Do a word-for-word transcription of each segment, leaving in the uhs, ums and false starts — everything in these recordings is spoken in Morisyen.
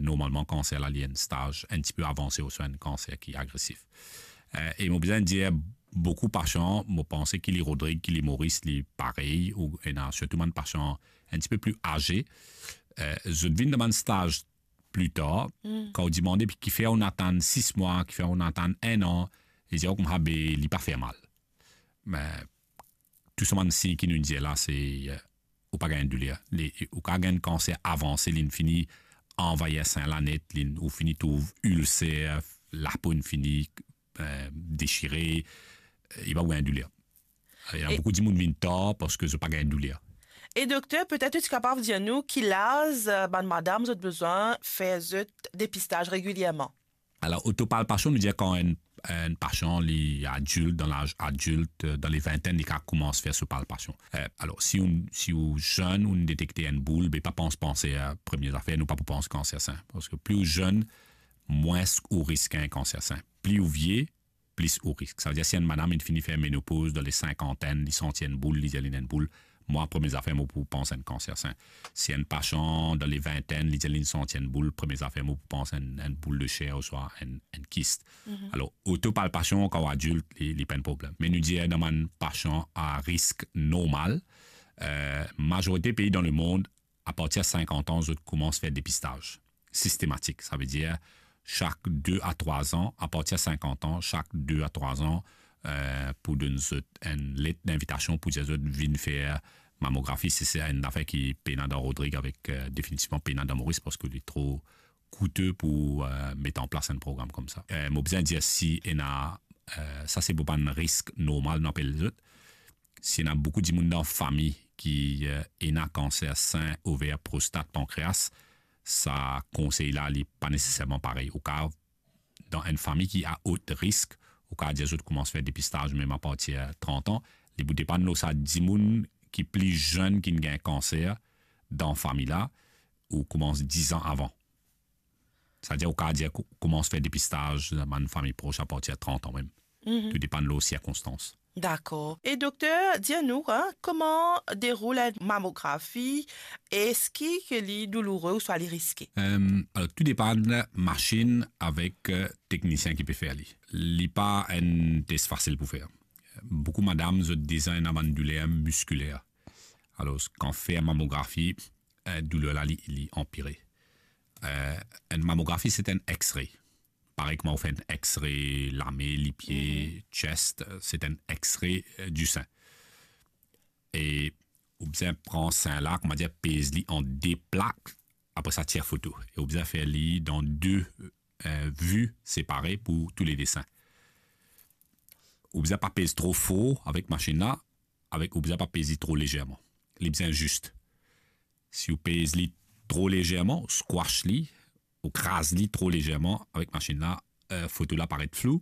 Normalman, kanser la, li enn staz enn tipe avanse, ouswa enn kanser ki agresif. Eh, e mo bizin dir, boukou pasian, mo panse ki li Rodrig, ki li Moris, li parey, ou ena sirtou bann pasian enn tipe pli aze, eh, zot vinn dan bann staz pli tar, kan ou dimande, "Pi kifer ou atann sis mwa, kifer ou atann enn an?" Li dir, "Koumsa, be, li pa fer mal." Me tou sa bann sign ki nou dir la, se, eh, ou pa gagn douler. Li, ou kav gagn kanser avanse, linn fini anvayir sin la net, linn, ou fini trouv ilser, lapo inn fini, eh, desire, eh, li pa pou gagn douler. Ena E boukou dimoun vinn tar parski zot pa gagn douler. E dokter, petet ou ti kapav dir nou ki laz, eh, bann madam zot bizin fer zot depistaz regilierman? Alor, otopalpasion, nou dir kan enn, enn pasian, li adilt, dan laz adilt, eh, dan le vintenn, li kav koumans fer so palpasion. Eh, alor, si ou, si ou zenn, ou detekte enn boul, be pa pans, panse, eh, premie zafer, nou pa pou pans kanser sin. Parski pli ou zenn, mwins ou risk gagn kanser sin. Pli ou vie, plis ou risk. Savedir, si enn madam inn fini fer menopoz, dan le sinkantenn, li santi enn boul, li dir li ena enn boul, mwa, premie zafer mo pou pans enn kanser sin. Si enn pasian dan le vintenn, li dir li santi enn boul, premie zafer mo pou pans enn, enn boul de ser ouswa enn, enn kis. Alor, otopalpasion, kan ou adilt, li, li pa enn problem. Me nou dir dan bann pasian a risk normal, eh, mazorite pei dan lemond, apartir sinkant an, zot koumans fer depistaz sistematik. Savedir, sak de a trwa an, apartir sinkant an, sak de a trwa an, eh, pou donn zot enn let dinvitasion pou dir zot vinn fer mamografi. Si se enn zafer ki pena dan Rodrig avek, eh, definitivman pena dan Moris, parski li tro koute pou, eh, met an plas enn program koumsa. Eh, mo bizin dir, si ena, eh, sa se pou bann risk normal, nou apel zot. Si ena boukou dimoun dan fami ki, eh, ena kanser sin, over, prostat, pankreas, sa konsey la, li pa neseserman parey. Ou kav, dan enn fami ki a ot risk, ou kav dir zot koumans fer depistaz mem apartir trant an. Li pou depann lor sa dimoun ki pli zenn ki gagn kanser dan fami la, ou koumans diz an avan. Savedir ou kav dir kou-, koumans fer depistaz dan bann fami pros apartir trant an mem. Tou depann lor sirkonstans. Dakor. E dokter, dir nou, hein, kouma deroul enn mamografi? Eski ke li douloure ouswa li riske? Em, alor, tou depann masinn avek, eh, teknisien ki pe fer li. Li pa enn tes fasil pou fer. Boukou madam, zot deza ena bann douler miskiler. Alor, kan fer mamografi, eh, douler la, li, li anpire. Eh, enn mamografi, se enn X-ray. Parey kouma ou fer enn X-ray lame, lipie, chest, eh, se enn X-ray, eh, di sin. E ou bizin pran sin la, kouma dir, pez li an de plak, apre sa tir foto. E ou bizin fer li dan de, eh, vi separe pou tou le de sin. Ou bizin pa pez tro for avek masinn la, avek, ou bizin pa pez li tro lezerman. Li bizin zis. Si ou pez li tro lezerman, ou squash li, ou kraz li tro lezerman avek masinn la, eh, foto la paret flou.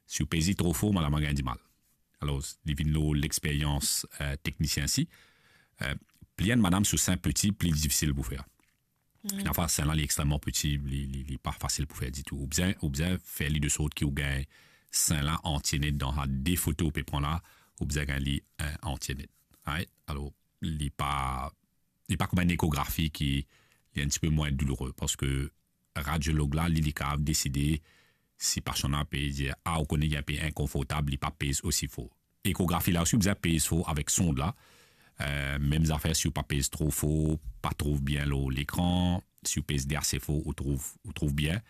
Si ou pez li tro for, madam la gagn dimal. Alor, li vinn lor lexperyans, eh, teknisien si. Eh, pli enn madam so sin piti, pli difisil pou fer. Ena fwa sin la li extreman piti, li, li, li pa fasil pou fer ditou. Ou bizin, ou bizin fer li de sort ki ou gagn sin la antie net dan sa de foto ou pe pran la, ou bizin gagn li, eh, antie net. Right? Alor, li pa, li pa kouma enn ekografi ki li enn tipe mwin douloure, parski radiolog la, li, li kav deside si pasian la pe dir, ah, ou kone li inpe inkonfortab, li pa pez osi for. Ekografi la osi, ou bizin pez for avek sond la. Eh, mem zafer, si ou pa pez tro for, pa trouv bien lor lekran. Si ou pez li ase for, ou trouv, ou trouv bien.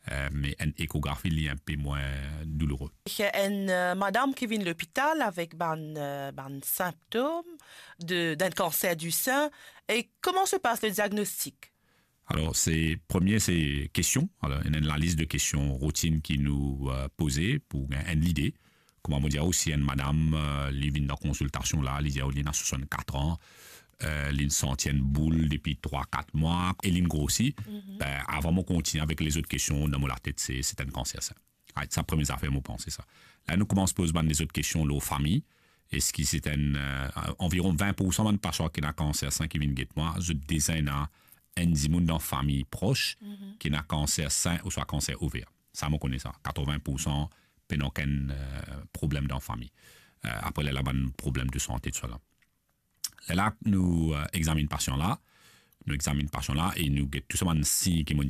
Eh, me enn ekografi, li inpe mwin douloure. Enn, eh, madam ki vinn lopital avek bann, eh, bann sinptom de, d'enn kanser di sin, e kouma se pas le diagnostik? Alor, se, premie, se kestion. Alor, ena enn lalis de kestion routine ki nou, eh, poze pou gagn enn lide. Kouma mo dir ou, si enn madam, eh, li vinn dan konsiltasion la, li dir ou li ena swasannkat an, eh, linn santi enn boul depi trwa, kat mwa, e linn grosi, be, avan mo kontigne avek lezot kestion, dan mo latet, se, se enn kanser sa. Right, sa premie zafer mo panse sa. La, nou koumans poz bann lezot kestion lor fami. Eski se enn, eh, anviron vin poursan bann pasian ki ena kanser sin ki vinn get mwa, zot deza ena enn dimoun dan fami pros ki ena kanser sin ouswa kanser over. Sa, mo kone sa. Katrovin poursan pena okenn, eh, problem dan fami. Eh, apre, lerla bann problem de sante, tousala. Lerla nou, eh, examinn pasian la, nou examinn pasian la e nou get tou sa bann sign ki mo